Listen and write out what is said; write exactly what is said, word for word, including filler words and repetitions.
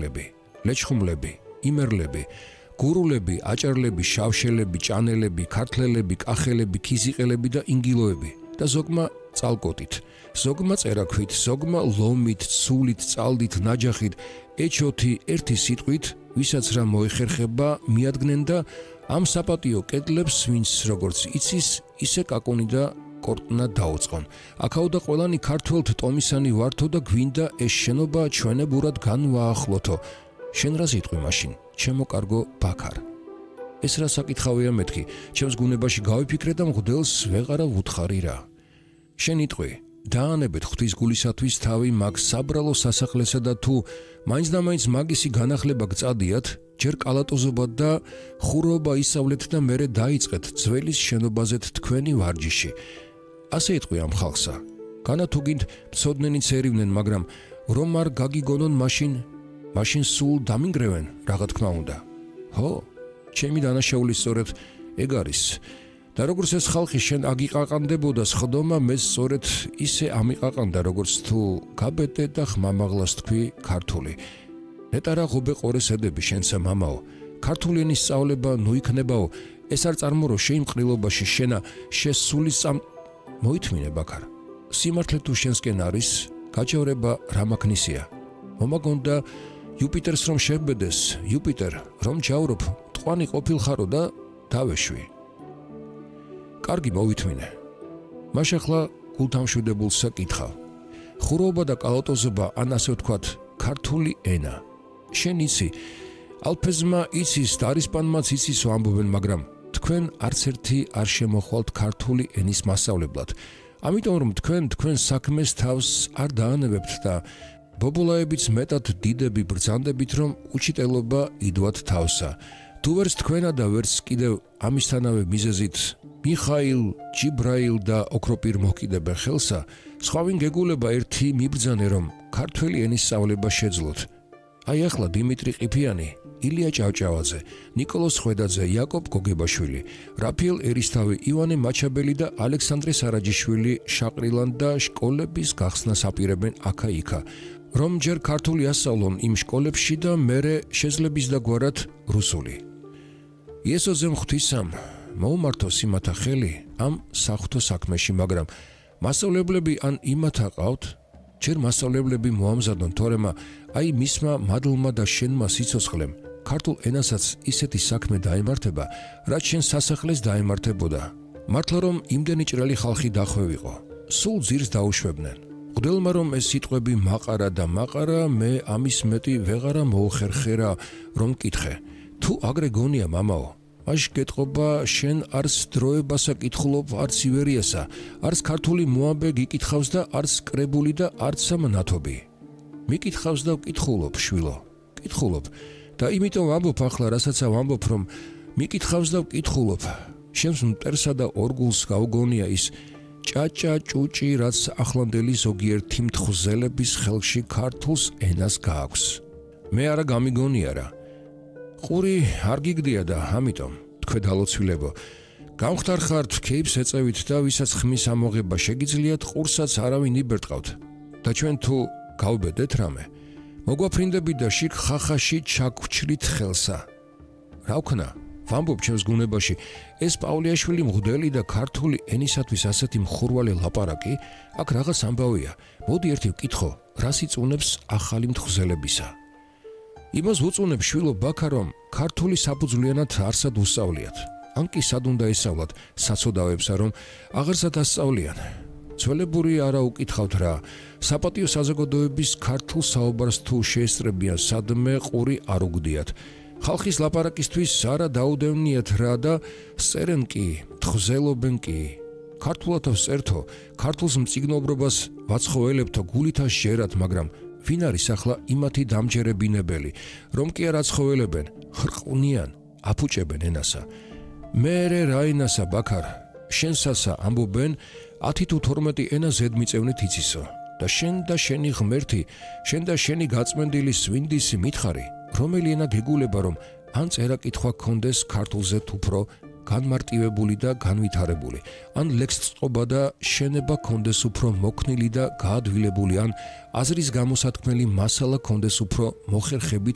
მატარებლები, ლეჩხუმლები, იმერლები, გურულები, აჭარლები, შავშელები, ჭანელები, ქართლელები, კახელები, ქიზიყელები და ინგილოები და ზოგმა წალკოტით, ზოგმა წერაქვით, ზოგმა ლომით, ცულით, წალდით, ნაჯახით, ეჩოთი ერთი სიტყვით, ვისაც რა მოეხერხება, მიადგნენ და ამ საპატიო კედლებს, ვინც როგორც იცის, ისე კაკუნი და კორტნა დაუწყონ. აქაოდა ყველანი ქართველთ ტომისანი ვართო და გვინდა ეს შენობა ჩვენებურად განვაახლოთო. შენ რა სიტყვი მაშინ, ჩემო კარგო ბაქარ. ეს რა საკითხავია მეთქი, ჩემს გუნებაში გავიფიქრე და მღვდელს ვეღარა ვუთხარი რა. შენ იტყვი, დაანებეთ ღვთის გულისათვის თავი მაგ საბრალო სასახლესა და თუ მაინც და მაინც მაგისი განახლება გწადიათ, ჯერ კალატოზობად და ხურობა ისავლეთ და მერე დაიწყეთ ძველის შენობაზეთ თქვენი ვარჯიში. ასე იტყვი ამ ხალხსა. განა თუ გინდ მცოდნენი ცერივნენ, მაგრამ რომ არ გაგიგონონ მაშინ, მაშინ სულ დამინგრევენ, რაღა თქმა უნდა. ხო, ჩემი დანაშაული სწორედ ეგ არის. და როგორც ეს ხალხი შენ აგიყაყანდებოდა სხდომა, მე სწორედ ისე ამიყაყანდა, როგორც თუ გაბედე და ხმამაღლას თქვი ქართული. ნეტა რა ღობე ყორეს ედები შენსა მამაო, ქართული ენის სწავლება ნუ იქნებაო, ეს არ წარმორო შეიმყრილობაში შენა შესული სამ მოითმინე ბაქარ. სიმართლე თუ შენსკენ არის, გაჯავრება რა მაქნისია. მომაგონდა იუპიტერს რომ შევბედეს, იუპიტერ რომ ჯავრობ, ტყვანი ყოფილხარო და დავეშვი. კარგი მოვითმინე. მაშ ახლა გულთამშვიდებულსა კითხავ. ხურობა და კალატოზობა ან ასე ვთქვათ, ქართული ენა. შენ იცი, ალფეზმა იცის და არისპანმაც იცისო ამბობენ, მაგრამ თქვენ არც ერთი არ შემოხვალთ ქართული ენის მასწავლებლად. ამიტომ რომ თქვენ თქვენ საქმეს თავს არ დაანებებთ და ბობულაებიც მეტად დიდები ბრძანდებით, რომ უჩიტელობა იდვათ თავსა. თუ ვერც თქვენა და ვერც კიდევ ამისთანავე მიზეზით მიხაილ, ჯიბრაილ და ოქროპირ მოკიდებენ ხელსა, სხვავინ გეგულება ერთი მიბრძანე, რომ ქართველი ენის სწავლება შეძლოთ. აი ახლა დიმიტრი ყიფიანი, ილია ჭავჭავაძე, ნიკოლოზ ხვედაძე, იაკობ გოგებაშვილი, რაფიელ ერისთავი, ივანე მაჩაბელი და ალექსანდრე სარაჯიშვილი შაყრილან და შკოლების გახსნას აპირებენ აქა-იქა, რომ ჯერ ქართული ასწავლონ იმ შკოლებში და მერე შეძლების დაგვარად რუსული. იესოზემ ღვთისამ მოუმართოს იმათა ხელი ამ საღვთო საქმეში, მაგრამ მასწავლებლები ან იმათა ყავთ, ჯერ მასწავლებლები მოამზადონ, თორემა აი მისმა მადლმა და შენმა სიცოცხლემ ქართულ ენასაც ისეთი საქმე დაემართება, რაც შენ სასახლეს დაემართებოდა. მართლა რომ იმდენი ჭრელი ხალხი დახვევიყო, სულ ძირს დაუშვებდნენ. მღვდელმა რომ ეს სიტყვები მაყარა და მაყარა, მე ამის მეტი ვეღარა მოუხერხერა, რომ კითხე. თუ აგრე გონია მამაო, მაშ გეტყობა შენ არც დროებასა კითხულობ, არც ივერიასა, არც ქართული მოამბე გიკითხავს და არც კრებული და არც სამნათობი. მიკითხავს და ვკითხულობ, შვილო, კითხულობ და იმიტომ ვამბობ ახლა, რასაც ვამბობ, რომ მიკითხავს და ვკითხულობ. შენს მტერსა და ორგულს გაუგონია ის ჭაჭა ჭუჭი, რაც ახლანდელი ზოგიერთი მთხზელების ხელში ქართულს ენას გააქვს. მე არა გამიგონია რა. ყური არ გიგდია და ამიტომ თქვენ დალოცვილებო, გამختار ხართ ქეიფს ეწევით და ვისაც ხმის ამოღება შეგიძლიათ, ყურსაც არავინ იბერტყავთ და ჩვენ თუ გავბედეთ რამე, მოგვაფრინდებით და შიგ ხახაში ჩაგვრჩლით ხელსა. რა ვქნა, ვამბობ ჩემს გუნებაში, ეს პავლეაშვილი მღვდელი და ქართული ენისათვის ასეთი მხურვალე ლაპარაკი, აქ რაღაც ამბავია. მოდი ერთი ვკითხო, რა სიწუნებს ახალი მთხზელებისა. იმას ვუწუნებ შვილო ბაქა, რომ ქართული საფუძვლიანად არსად უსწავლიათ. ან კი სად უნდა ესწავლათ საცოდავებსა, რომ აღარსად ასწავლიან. ძველებური არა უკითხავთ რა, საპატიო საზოგადოების ქართულ საუბარს თუ შეესწრებიან, სადმე ყური არ უგდიათ. ხალხის ლაპარაკისთვის არა დაუდევნიათ რა და წერენ კი, თხზელობენ კი. ქართულად ვწერთო, ქართულს მწიგნობრობას ვაცხოველებთო, გულით შეერათ, მაგრამ ვინ არის ახლა იმათი დამჯერებინებელი, რომ კი არ აცხოველებენ, ხრყვნიან, აფუჭებენ ენასა. მერე რა ენასა ბაქარ, შენსასა ამბობენ, ათი თუ თორმეტი ენა ზედმიწევნით იცისო და შენ და შენი ღმერთი, შენ და შენი გაწმენდილი სვინდისი მითხარი, რომელი ენა გეგულება, რომ ან წერა-კითხვა გქონდეს ქართულზე უფრო განმარტივებული და განვითარებული, ან ლექსწყობა და შენება გქონდეს უფრო მოქნილი და გაადვილებული, ან აზრის გამოსათქმელი მასალა გქონდეს უფრო მოხერხებით